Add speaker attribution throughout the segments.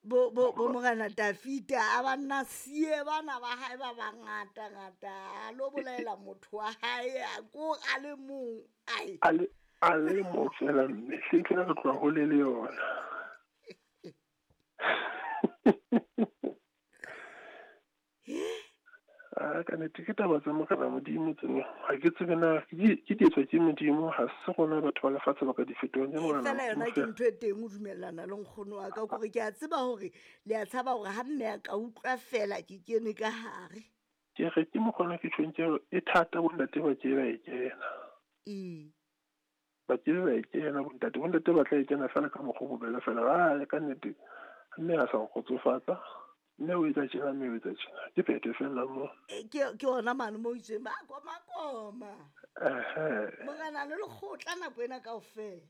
Speaker 1: Bo bo bo morena Dafita a ba nna sie bana ba hae ba bangata ngata a lo bolaela motho wa hae a ko a le mong ai
Speaker 2: a le a le mong fela mme hle re tloha hole le yona. A ka nnete ke taba tsa morena Modimo tseno, ha ke tsebe na ke di etswa ke Modimo, ha se rona batho ba lefatshe ba ka di fetolang ke morena
Speaker 1: fela yona ke ntho e teng o dumellana le nkgono wa ka kore ke a tseba hore le a tshaba hore ha mme a ka utlwa fela ke kene ka hare.
Speaker 2: Ke re ke mokgona ke tjhong ke e thata bontate ba ke ba e kena.
Speaker 1: Ee.
Speaker 2: Ba ke ba e kena bontate, bontate ba tla e kena fela ka mokgwa o bobebe fela. A ka nnete mme a sa nkgotsofatsa. Mme o etsa tjena, mme o etsa tjena. Ke phetho fela mo.
Speaker 1: Ke ona mane mo itseng ba koma koma.
Speaker 2: Ehe.
Speaker 1: Morena le lekgotla nako ena kaofela.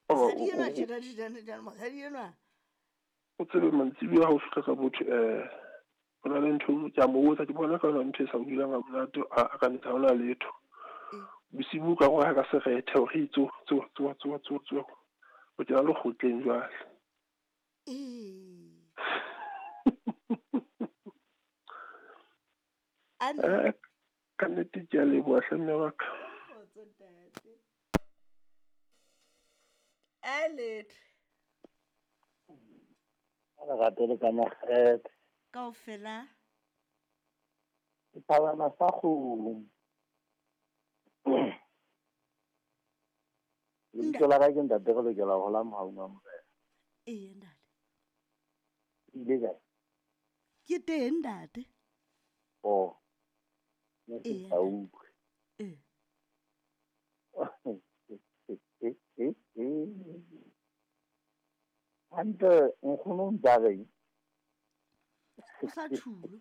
Speaker 1: Mosadi enwa tjena tjena tjena, mosadi enwa.
Speaker 2: O tsebe mantsibuya ha o fihla ka botho ho na le ntho ke a mo botsa, ke bona ka ntho e sa o dulang ha monate, a ka nnete ha hona letho. Bosibu ka roha ka serethe hore tso tso tso tso tso tso. O kena lekgotleng jwale.
Speaker 1: Ee.
Speaker 2: Ka nnete ke a leboha hle mme wa ka.
Speaker 1: Kgotso ntate. A letho.
Speaker 3: Lerato le ka makgethe.
Speaker 1: Kaofela.
Speaker 3: Ke thabana sa kgomo. Lebitso la ka ke ntate re lokela ho hola mohaung wa Morena.
Speaker 1: Ee ntate.
Speaker 3: Ile kae?
Speaker 1: Ke teng ntate.
Speaker 3: Oh. Ne ke sa utlwe.
Speaker 1: Ee.
Speaker 3: Hantle nkgono o ntsa reng?
Speaker 1: O sa tjhulo.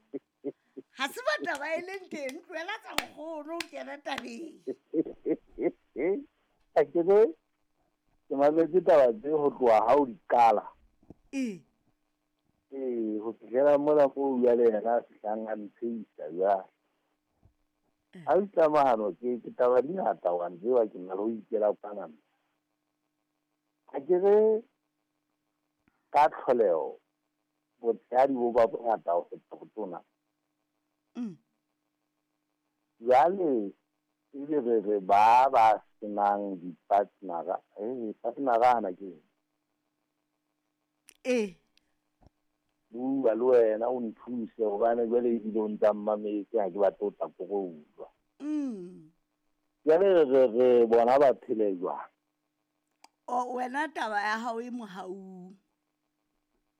Speaker 1: Ha se ba taba e leng teng, tlohela tsa nkgono o kena tabeng.
Speaker 3: A ke re ke mametse taba tse ho tloha ha o di qala.
Speaker 1: Ee.
Speaker 3: Ee, ho fihlela mona moo jwale yena a fihlang a ntsheisa jwale. Ha o tlamahano ke taba di ngata wa ntseba ke na le ho ikela kwana. Ha ke re ka tlholeho botshehadi bo ba bongata ho feta botona. Jwale ebe re re ba ba senang di-partnera, partnera hana ke eng?
Speaker 1: Ee.
Speaker 3: Bua le wena o nthuse hobane jwale ebile o ntsa mmametse ha ke batle ho tla koroulwa. Jwale re re bona ba phele jwang?
Speaker 1: O wena taba ya hao e mohaung.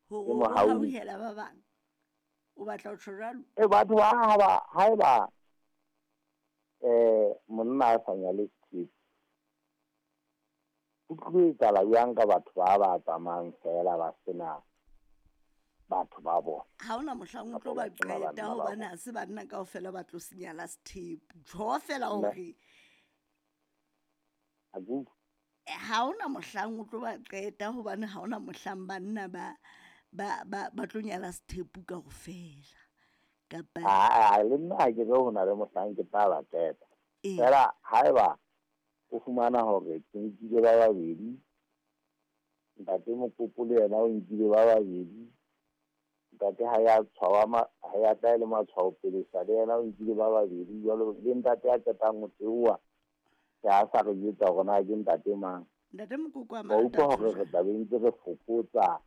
Speaker 1: Hore o hauhela ba bang. O batla ho tjho jwalo?
Speaker 3: E batho ba haeba monna a sa nyale sethepu, ho tlo etsahala jwang ka batho ba ba tsamayang fela ba sena batho ba bona?
Speaker 1: Ha hona mohlang o tlo ba qeta hobane ha se banna kaofela ba tlo senyala sethepu. Tjho fela hore ha hona mohlang o tlo ba qeta hobane ha hona mohlang banna ba ba tlo nyala sethepu kaofela. Kapa
Speaker 3: a le nna ha ke re ho na le mohlang ke tla ba qeta. Fela haeba o fumana hore ke nkile ba babedi, ntate Mokopo le yena o nkile ba babedi, ntate ha ya tshwawa ha ya tla le matshwao pele sa le yena o nkile ba babedi, jwalo le ntate a qetang ho theoha ke a sa re jwetsa hore na ke ntate mang.
Speaker 1: Ntate Mokoko a
Speaker 3: Wa utlwa hore re tla be ntse re fokotsa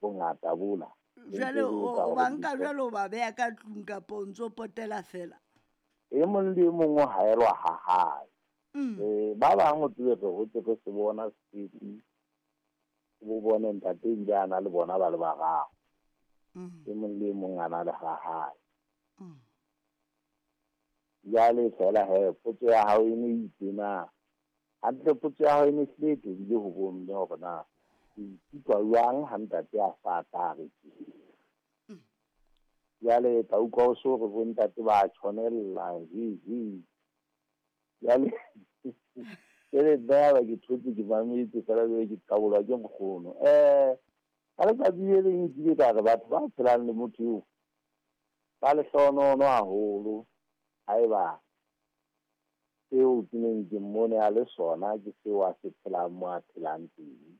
Speaker 3: bongata bola.
Speaker 1: Jwale o ba nka jwale o ba beha ka tlung kapa o ntso potela fela?
Speaker 3: E mong le e mong o haelwa ha hae. Ba bang o tsebe re hotse re se bona setepu, bo bone ntate ebile a na le bona ba le bararo. E mong le e mong a na le ha hae. Jwale fela he potso ya hao e ne itse na hantle, potso ya hao e ne hlile e tobile ho bomme hore na o ikutlwa jwang ha ntate a sa tla re tje. Jwale tla utlwa o so re bo ntate ba tshwanella hi hi. Jwale ke nna ya ba ke thotse ke mametse fela jwale ke qabolwa ke nkgono. Ka letsatsi le leng nkile ka re batho ba phelang le motho eo ba lehlohonono haholo haeba seo ke neng ke mmone a le sona ke seo a se phelang mo a phelang teng.